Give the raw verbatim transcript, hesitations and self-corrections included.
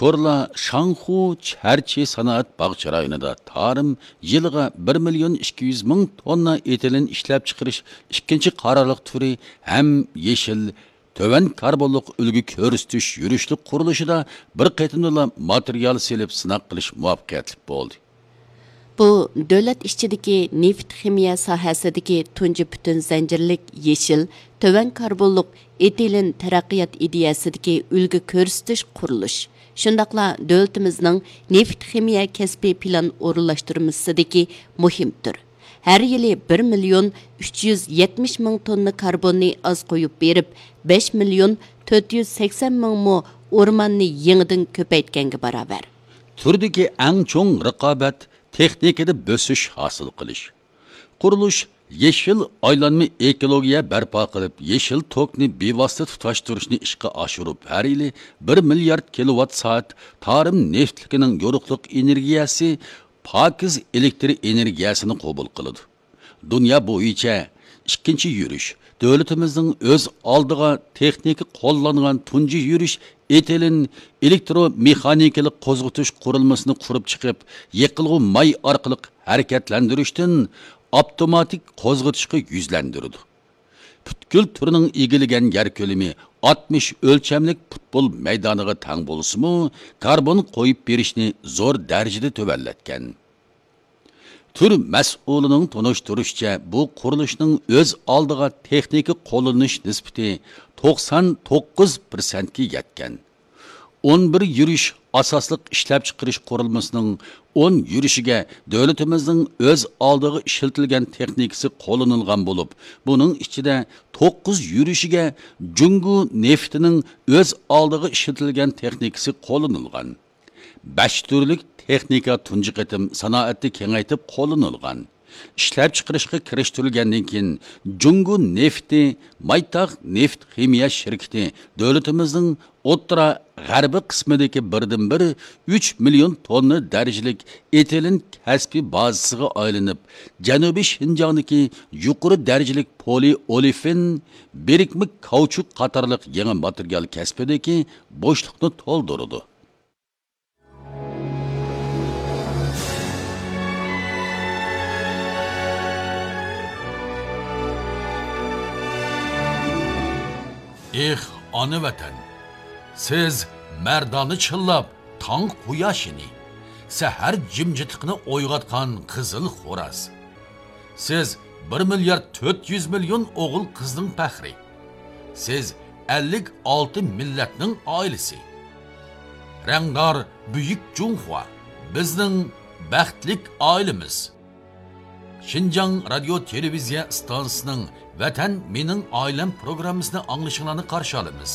كورلا شاڭخۇ چەرچى سانائەت باغچە رايونىدا تارىم يىلىغا بىر مىليون ئىككى يۈز مىڭ توننا ئېتىلېن ئىشلەپچىقىرىش ئىككىنچى قارارلىق تۈرى ھەم يېشىل، تۆۋەن كاربونلۇق ئۈلگە كۆرسىتىش يۈرۈشلۈك قۇرۇلۇشىدا بىر قېتىمدىلا ماتېرىيال سېلىپ سىناق قىلىش مۇۋەپپەقىيەتلىك بولدى. بۇ دۆلەت ئىچىدىكى نېفىت خىمىيە ساھەسىدىكى تۇنجى پۈتۈن زەنجىرلىك يېشىل، تۆۋەن كاربونلۇق ئېتىلېن تەرەققىيات ئىدىيەسىدىكى ئۈلگە كۆرسىتىش قۇرۇلۇش، شۇنداقلا دۆلىتىمىزنىڭ نېفىت خىمىيە كەسپىي پىلان ئورۇنلاشتۇرمىسىدىكى مۇھىم تۈر. ھەر يىلى بىر مىليون ئۈچ يۈز يەتمىش مىڭ توننا كاربوننى ئاز قويۇپ بېرىپ، بەش مىليون تۆت يۈز سەكسەن مىڭ مو ئورماننى يېڭىدىن كۆپەيتكەنگە باراۋەر. تۈردىكى ئەڭ چوڭ رىقابەت تېخنىكىدا بۆسۈش ھاسىل قىلىش. قۇرۇلۇش يېشىل ئايلانما ئېكولوگىيە بەرپا قىلىپ، يېشىل توكنى بىۋاسىتە تۇتاشتۇرۇشنى ئىشقا ئاشۇرۇپ، ھەر يىلى بىر مىليارد كىلوۋات سائەت تارىم نېفىتلىكىنىڭ يورۇقلۇق ئېنېرگىيەسى، پاكىز ئېلېكتر ئېنېرگىيەسىنى قوبۇل قىلىدۇ. دۇنيا بويىچە ئىككىنچى يۈرۈش، دۆلىتىمىزنىڭ ئۆز ئالدىغا تېخنىكا قوللانغان تۇنجى يۈرۈش ئېتىلېن ئېلېكترومېخانىكىلىق قوزغىتىش قۇرۇلمىسىنى قۇرۇپ چىقىپ، يېقىلغۇ ماي ئارقىلىق ھەرىكەتلەندۈرۈشتىن ئاپتوماتىك قوزغىتىشقا يۈزلەندۈرىدۇ. پۈتكۈل تۈرنىڭ ئىگىلىگەن يەر كۆلىمى ئاتمىش ئۆلچەملىك پۇتبول مەيدانىغا تەڭ بولسىمۇ، كاربون قويۇپ بېرىشنى زور دەرىجىدە تۆۋەنلەتكەن. تۈر مەسئۇلىنىڭ تونۇشتۇرۇشىچە، بۇ قۇرۇلۇشنىڭ ئۆز ئالدىغا تېخنىكا قوللىنىش نىسبىتى توقسان توققۇز پىرسەنتكە يەتكەن. ئون بىر يۈرۈش ئاساسلىق ئىشلەپچىقىرىش قۇرۇلمىسىنىڭ ئون يۈرۈشىگە دۆلىتىمىزنىڭ ئۆز ئالدىغا ئىشلىتىلگەن تېخنىكىسى قوللىنىلغان بولۇپ، بۇنىڭ ئىچىدە توققۇز يۈرۈشىگە جۇڭگو نېفىتىنىڭ ئۆز ئالدىغا ئىشلىتىلگەن تېخنىكىسى قوللىنىلغان. بەش تۈرلۈك تېخنىكا تۇنجى قېتىم سانائەتتە كېڭەيتىپ قوللىنىلغان. ئىشلەپچىقىرىشقا كىرىشتۈرۈلگەندىن كېيىن، جۇڭگو نېفىتى مايتاغ نېفىت خىمىيە شىركىتى دۆلىتىمىزنىڭ ئوتتۇرا غەربىي قىسمىدىكى بىردىنبىر ئۈچ مىليون توننا دەرىجىلىك ئېتىلېن كەسپىي بازىسىغا ئايلىنىپ، جەنۇبىي شىنجاڭدىكى يۇقىرى دەرىجىلىك پولىئولېفىن، بىرىكمە كاۋچۇك قاتارلىق يېڭى ماتېرىيال كەسپىدىكى بوشلۇقنى تولدۇرىدۇ. ئېھ، ئانا ۋەتەن! سىز مەردانە چىللاپ تاڭ قۇياشىنى، سەھەر جىمجىتلىقىنى ئويغاتقان قىزىل خوراز. سىز بىر مىليارد تۆت يۈز مىليون ئوغۇل قىزنىڭ پەخرى. سىز ئەللىك ئالتە مىللەتنىڭ ئائىلىسى. رەڭدار بۈيۈك جۇڭخۇا، بىزنىڭ بەختلىك ئائىلىمىز. شىنجاڭ رادىيو تېلېۋىزىيە ئىستانسىسىنىڭ ۋەتەن مېنىڭ ئائىلەم پروگراممىسىنى ئاڭلىشىڭلارنى قارشى ئالىمىز.